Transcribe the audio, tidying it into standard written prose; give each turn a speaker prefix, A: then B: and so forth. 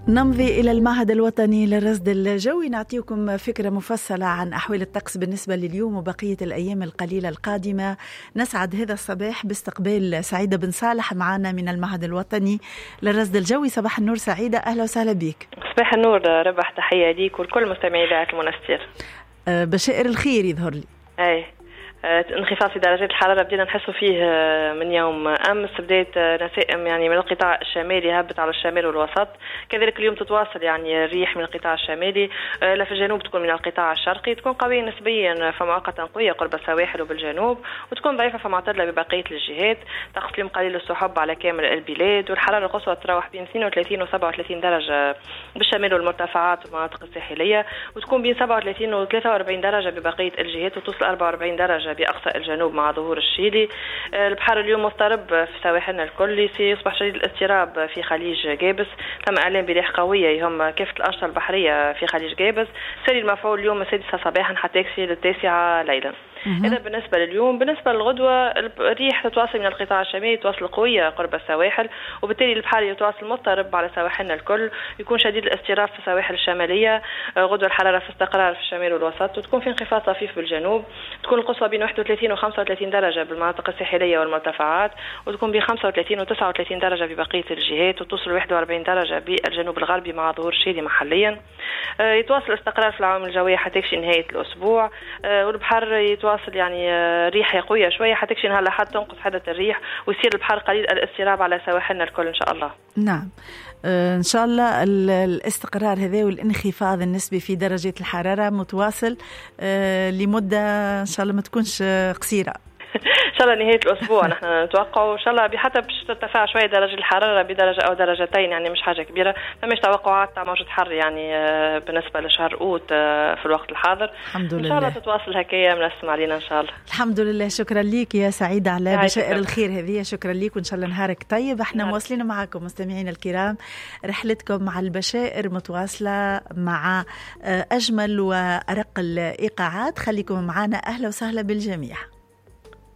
A: نمضي إلى المعهد الوطني للرصد الجوي، نعطيكم فكرة مفصلة عن أحوال الطقس بالنسبة لليوم وبقية الأيام القليلة القادمة. نسعد هذا الصباح باستقبال سعيدة بن صالح معنا من المعهد الوطني للرصد الجوي. صباح النور سعيدة، أهلا وسهلا بك.
B: صباح النور ربح، تحية ليك ولكل مستمعي إذاعة المنستير.
A: بشائر الخير يظهر لي.
B: أي انخفاض في درجات الحرارة بدينا نحسوا فيه من يوم أمس، بداية نسائم يعني من القطاع الشمالي هبت على الشمال والوسط، كذلك اليوم تتواصل يعني الريح من القطاع الشمالي، لا في الجنوب تكون من القطاع الشرقي، تكون قوية نسبيا فمؤقتا قوية قرب السواحل وبالجنوب، وتكون ضعيفة فمعتدلة ببقية الجهات. طقس اليوم قليل السحب على كامل البلاد، والحرارة القصوى تتراوح بين 32 و 37 درجة بالشمال والمرتفعات والمناطق الساحلية، وتكون بين 37 و 43 درجة ببقية الجهات، وتوصل 44 درجة بأقصى الجنوب مع ظهور الشيلي. البحر اليوم مضطرب في سواحلنا الكل، سيصبح شديد الاضطراب في خليج جابس، تم إعلان بريح قوية يهم كافة الأنشطة البحرية في خليج جابس، ساري المفعول اليوم 6 صباحا حتى يكفي 9 ليلا. إذا بالنسبة لليوم، بالنسبة للغدوة الريح تتواصل من القطاع الشمالي، تواصل قوية قرب السواحل، وبالتالي البحر يتواصل مضطرب على سواحلنا الكل، يكون شديد الاضطراب في السواحل الشمالية. غدوة الحرارة في استقرار في الشمال والوسط، وتكون في انخفاض طفيف بالجنوب، تكون القصوى بين 31 و 35 درجة بالمناطق الساحلية والمرتفعات، وتكون بين 35 و 39 درجة ببقية الجهات، وتوصل 41 درجة بالجنوب الغربي مع ظهور شيلي محليا. يتواصل الاستقرار في العوامل الجوية حتى يكشي نهاية الأسبوع، والبحر يتواصل يعني ريح قوية شوية حتى يكشي نهار الأحد تنقص حدة الريح ويصير البحر قليل الاضطراب على سواحلنا الكل إن شاء الله.
A: نعم، إن شاء الله الاستقرار هذا والانخفاض النسبي في درجة الحرارة متواصل لمدة إن شاء الله ما تكونش قصيرة.
B: ان شاء الله نهاية الاسبوع نحن نتوقع، ان شاء الله حتى باش ترتفع شوية درجه الحرارة بدرجة او درجتين، يعني مش حاجة كبيرة، فماش توقعات تاع موجه حر يعني بالنسبة لشهر اوت في الوقت الحاضر.
A: الحمد لله،
B: ان شاء الله تتواصل هكايا منسم علينا ان شاء الله.
A: الحمد لله، شكرا لك يا سعيدة على بشائر الخير هذه، شكرا لك وان شاء الله نهارك طيب. احنا مواصلين معكم مستمعينا الكرام رحلتكم مع البشائر متواصلة مع اجمل وارق الايقاعات، خليكم معنا، اهلا وسهلا بالجميع.